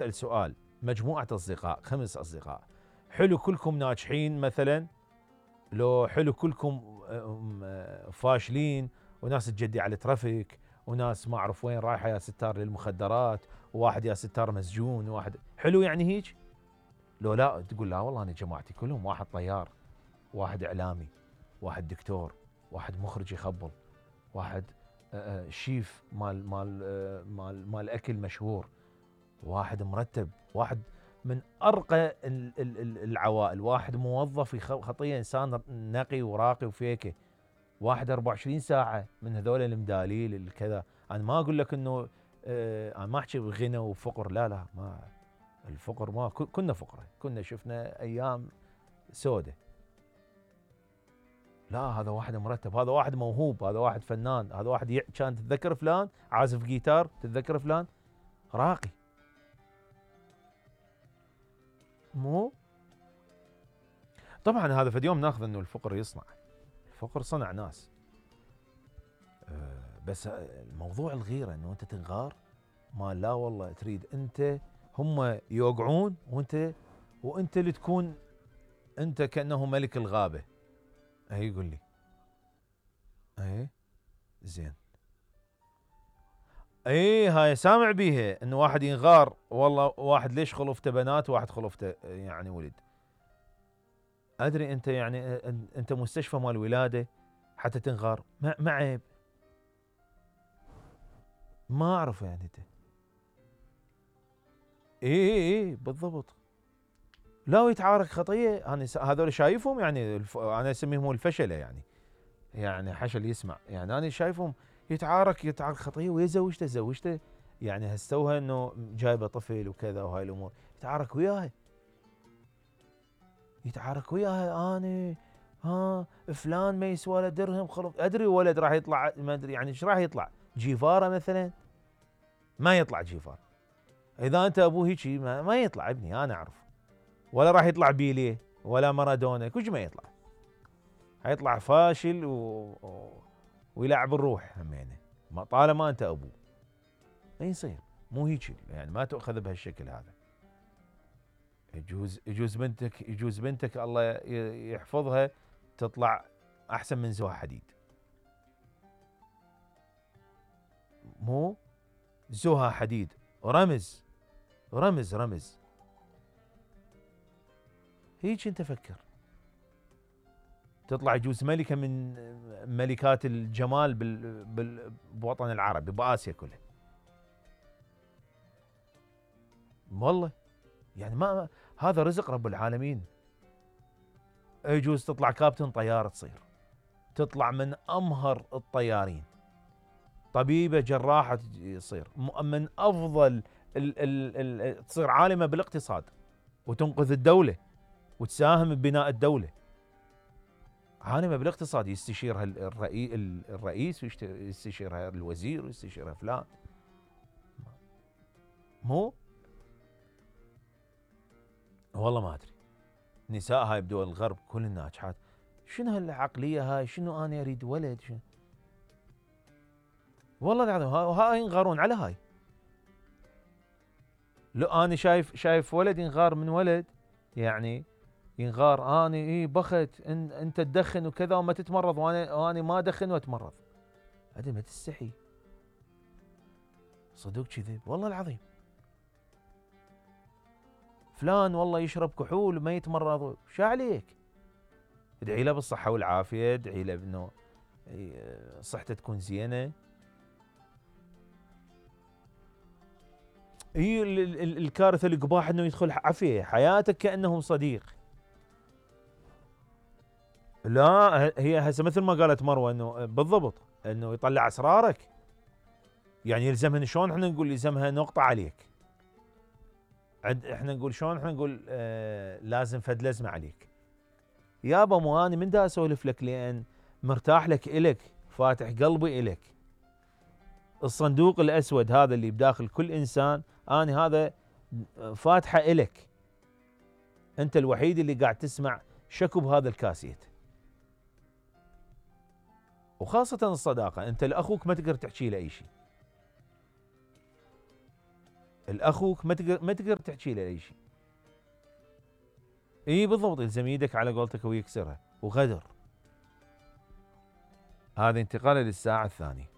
اسال سؤال، مجموعه اصدقاء 5 اصدقاء، حلو كلكم ناجحين مثلا، لو حلو كلكم فاشلين، وناس تجدي على الترافيك، وناس ما اعرف وين رايحه يا ستار للمخدرات، وواحد يا ستار مسجون، وواحد حلو يعني هيك؟ لو لا تقول لا والله انا جماعتي كلهم، واحد طيار، واحد اعلامي، واحد دكتور، واحد مخرج يخبل، واحد شيف مال اكل مشهور، واحد مرتب، واحد من ارقى العوائل، واحد موظف خطيه انسان نقي وراقي وفيكه، واحد 24 ساعه من هذول المداليل الكذا. انا ما اقول لك انه انا ما احكي بغنى وفقر، لا لا، ما الفقر، ما كنا فقراء، كنا شفنا ايام سودة. لا هذا واحد مرتب، هذا واحد موهوب، هذا واحد فنان، هذا واحد كان تتذكر فلان عازف جيتار، تتذكر فلان راقي. مو طبعا هذا في يوم ناخذ انه الفقر يصنع، الفقر صنع ناس، بس الموضوع الغيره انه انت تنغار، ما لا والله تريد انت هم يوقعون وانت اللي تكون انت كانه ملك الغابه. اي يقول لي اي زين، اي هاي سامع بيها انه واحد ينغار، والله واحد ليش خلفته بنات وواحد خلفته يعني ولد. ادري انت يعني انت مستشفى مال ولاده حتى تنغار، ما عيب؟ ما اعرف يعني انت. اي بالضبط. لا ويتعارك خطيه، انا هذول شايفهم يعني انا اسميهم الفشله يعني حشل يسمع، يعني انا شايفهم يتعارك خطيه، ويا زوجته يعني هستوها انه جايبه طفل وكذا وهاي الامور، يتعارك وياها انا فلان ما يسوى له درهم خلف، ادري ولد راح يطلع ما ادري يعني ايش راح يطلع، جيفاره مثلا؟ ما يطلع جيفار، اذا انت ابوه هيجي ما يطلع ابني انا اعرف، ولا راح يطلع بيليه ولا مارادونا، كل ما يطلع حيطلع فاشل ويلعب الروح همينه، طالما انت ابوه ما يصير، مو هيك يعني، ما تؤخذ بهالشكل هذا. يجوز بنتك الله يحفظها تطلع احسن من زوها حديد، مو زوها حديد رمز رمز هيك انت فكر، تطلع يجوز ملكه من ملكات الجمال بالوطن العربي، باسيا كلها، والله يعني ما هذا رزق رب العالمين. يجوز تطلع كابتن طيار، تطلع من امهر الطيارين، طبيبه جراحه تصير من افضل تصير عالمه بالاقتصاد وتنقذ الدوله وتساهم ببناء الدوله، عالمه بالاقتصاد، يستشيرها الرئيس ويستشيرها الوزير ويستشيرها فلان، مو والله ما ادري. نساء هاي بدول الغرب كل الناجحات، شنو هالعقليه هاي؟ شنو انا اريد ولد؟ شنو والله العظيم هاي ينغارون على هاي. لو انا شايف ولد ينغار من ولد، يعني ينغار اني بخت انت تدخن وكذا وما تتمرض، وانا ما ادخن واتمرض، هذه ما تستحي صدق كذب والله العظيم. فلان والله يشرب كحول وما يتمرض، شو عليك؟ ادعي له بالصحه والعافيه، ادعي له انه صحته تكون زينه. هي الكارثه القباح انه يدخل عافيه حياتك كانه صديق. لا هي هسه مثل ما قالت مروه انه بالضبط انه يطلع اسرارك، يعني يلزمها شلون احنا نقول يلزمها نقطه عليك، احنا نقول شلون، احنا نقول لازم فد لزمه عليك. يابا مو اني من دا اسولف لك لان مرتاح لك الك، فاتح قلبي الك، الصندوق الاسود هذا اللي بداخل كل انسان اني هذا فاتحه الك، انت الوحيد اللي قاعد تسمع شكو بهذا الكاسيت. وخاصة الصداقة، انت لاخوك ما تقدر تحكي له اي شيء، الاخوك ما تقدر تحكي له اي شيء. اي بالضبط، يلزم يدك على قولتك ويكسرها، وغدر. هذه انتقاله للساعة الثانية.